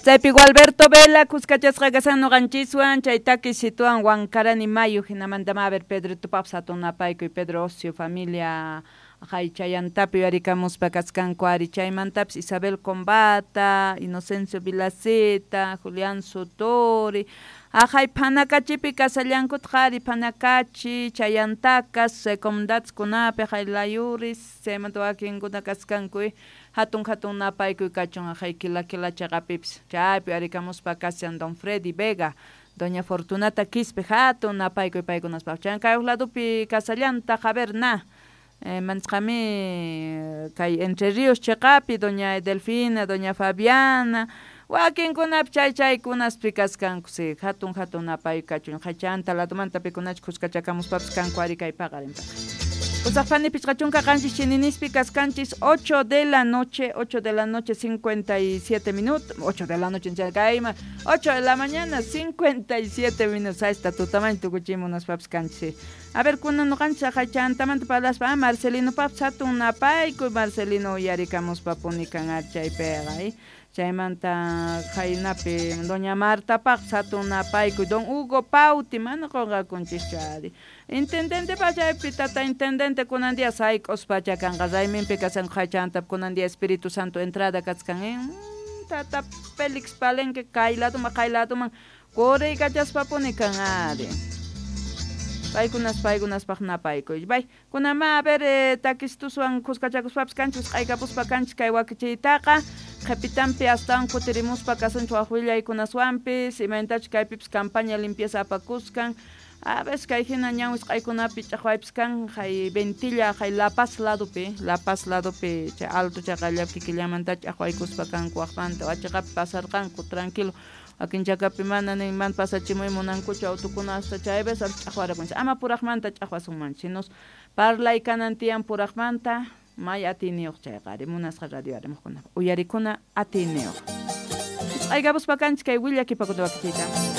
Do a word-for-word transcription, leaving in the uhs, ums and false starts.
Chaypi Gualberto Vela kuskachasqa kasan ñuqanchiswan chay taki situan Huancarani Mayu hinamanta a ver Pedro Tupap hatun napaykuy Pedro Ocio familia haychayantapi yuyarikamuspa kaskanku ari chaymantapis Isabel Combata, Inocencio Vilaceta, Julián Sutori aqhay phanakachipi kasallankutaq ari phanakachi chayantakas comunidadkunapi hay layuris chaymanta wakinkuna kaskanku hatun hatun napaykuy kachun aqhay kila kila chaqapipis chaypi yuyarikamuspa kashan don Freddy Vega doña Fortunata Quispe hatun napaykuy paykunaspaq chay kay ladopi kasallantaq a ver na eh, manchqami kay Entre Ríos chiqapi doña Delfina, doña Fabiana wakinkunapi chay chaykunaspi kaskanku si hatun hatun napaykuy kachun hachanta ladomanta pikunachu kuskachakamuspapis kanku ari kay paqarinpaq Pusaqpani pichqa chunka qanchis chininispi kaskanchis ocho de la noche, ocho de la noche cincuenta y siete minutos, ocho de la noche kayma, ocho de la mañana cincuenta y siete minutos, ahí está tutaman tukuchimunaspapis kanchis. A ver, kunan ñuqanchis aqhachantamanta parlaspa, ah, Marcelino papis hatun napaykuy Marcelino uyarikamuspa punikan ari chaypiqa, eh. Chaymanta khaynapi doña Marta paq hatun napaykuy don Hugo Pauti mana qunqakunchischu ari intendente pachaypi tata intendente kunan día sayk'uspacha kanqa rayminpi kasanku hachanta kunan día Espíritu Santo entrada kachkan eh tata Félix Palenque kay ladoman kay ladoman quriykachaspa-puni kan ari paykunas paykunaspaq napaykuy bay kunama a ver eh, takistuswan kuskachakuspapis kanchis q'aykapuspa kanchis kay wakichiytaqa qhipitanpi astawan kutirimuspa kasunchik wak willaykunaswanpis imaynatachus kaypipis campaña limpieza apakuskan a veces kay hina ñan wisq'aykunapi ch'aqwaypis kan hay Ventilla hay La Paz ladopi La Paz ladopi chay alto chaqallapi kikillamanta ch'aqwaykuspa kanku waqmanta wachiqapi pasarqanku tranquilo wakin chakapi mana nin mana pasachimuy munankuchu autukuna hasta chay veces ch'aqwarakunchik ama puraqmanta ch'aqwasunmanchu sinos parlay kanan tiyan puraqmanta may atiyniyuq chayqa ari munasqa radio arimuqkuna uyarikuna atiyniyuq wisq'aykapuspa kanchik kay willakipakuna wakichiyta.